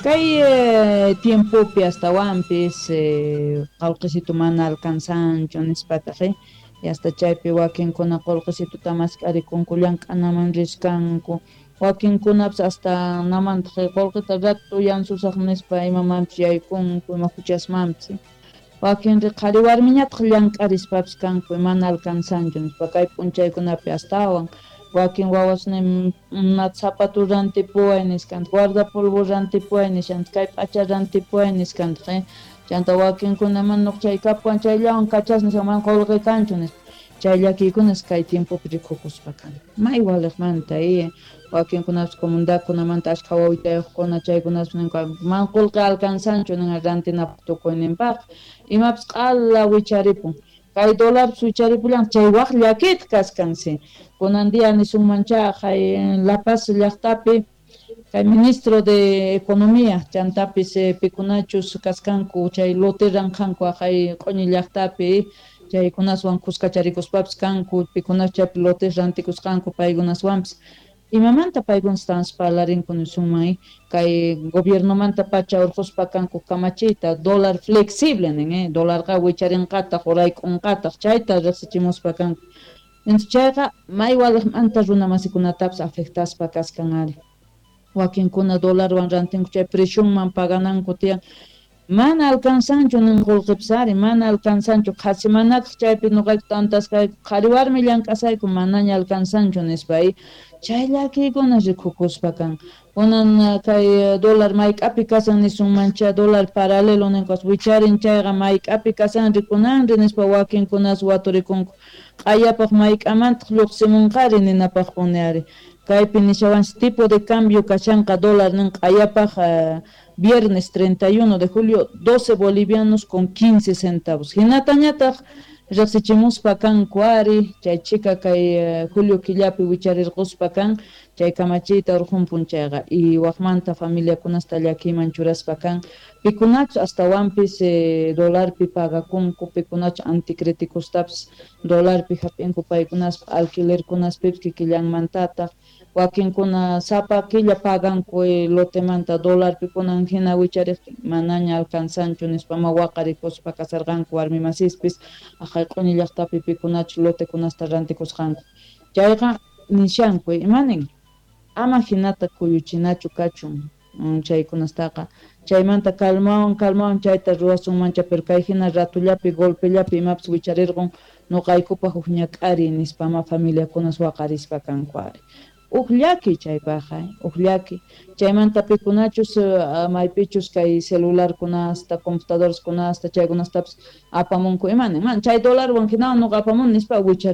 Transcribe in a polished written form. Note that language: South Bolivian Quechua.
Kay tiempopi astawanpis qolqesitu mana alcanzanchu nispataq y hasta chaypi wakinkuna qolqesituta mask'arikunku llank'anaman riskanku wakinkunapis hasta namantaq qolqeta rato yansusaq nispa imamanpis yaykunku ima huchasmanpis wakinri qhari warmiñataq llank'arispapis kanku mana alcanzanchu nispa kay p'unchaykunapi astawan wakin wawasnin zapatu rantipuway niskanta guardapolvo rantipuway nishanta kay p'acha rantipuway niskanta chanta wakinkuna mana chay kapuwan chayllawan kachas nispa mana qolqe kanchu nispa chay llakiykunas kay tiempopi rikukuspa kan may waliqmanta wakinkunapis comunidadkunamanta ashkha wawitayuqkuna chaykunapis ninku mana qolqe alcanzanchu nin rantinapaq tukuyninpaq imapis q'ala wicharipun kay dólarpis wicharipullan chay waq llakiytaq kaskansi kunan día nisunmancha kay La Paz llaqtapi kay ministro de Economía chantapis pikunachus kaskanku chay lote ranqanku kay q'uñi llaqtapi chaykunaswan kuskacharikuspapis kanku pikunas chaypi lotes rantikusqanku paykunaswanpis imamanta paykunas parlarinku nisunman kay gobiernomanta pacha urquspa kanku kamachiyta dólar flexible nin dólarqa wicharinqataq urayk'unqataq chayta riqsichimuspa kanku entonces chayqa may waliqmanta runa masikunatapis afectaspa kaskan ari wakinkuna dólarwan rantinku chay precionman pagananku tiyan mana alcanzanchu nin qolqepis ari mana alcanzanchu qhasi manataq chaypi noqayku tantasqayku qhari warmi llank'asayku manaña alcanzanchu nispa chay llakiykuna rikukuspa kan kunan kay dólar mayk'api kasan nisunmancha dólar paralelo ninkuas wicharin chayqa mayk'api kasan rikunanri nispa wakinkunas waturikunku q'ayapaq mayk'amantaq lluqsimunqari ninapaqpuni ari kaypi nishawanchis tipo de cambio kashanqa dólar nin q'ayapaq viernes 31 de julio 12 bolivianos con 15 centavos hinatañataq riqsichimuspa kanku ari chay chika kay julio killapi wicharirquspa kan chay kamachiyta urqunpun chayqa y waqmanta familiakunasta llakiyman churaspa kan pikunachus astawanpis dólarpi pagakunku pikunachus anticríticostapis dólarpi hap'inku paykunaspa alquilerkunaspipis kikillanmantataq wakinkuna sapa killa paganku lotemanta dólarpi kunan hina wichariqtin manaña alcanzanchu nispa ma waqarikuspa kasarqanku warmi masispis aqhay q'uñi llaqtapi pikunachus lotekunasta rantikusqanku chayqa nishanku imanin ama hinata kuyuchinachu kachun chaykunastaqa chaymanta calmawan calmawan chayta ruwasunmancha pero kay hina ratullapi golpellapi imapis wicharirqun nuqaykupaq huk ñak'ariy nispa ma familiakunas waqarispa kanku ari uj llaki chaypaqqa uj llaki chaymanta pikunachus maypichus kay celularkunasta computadoreskunasta chaykunastapis apamunku imani man chay dólarwan hinawan nuqa apamun nispa wichari.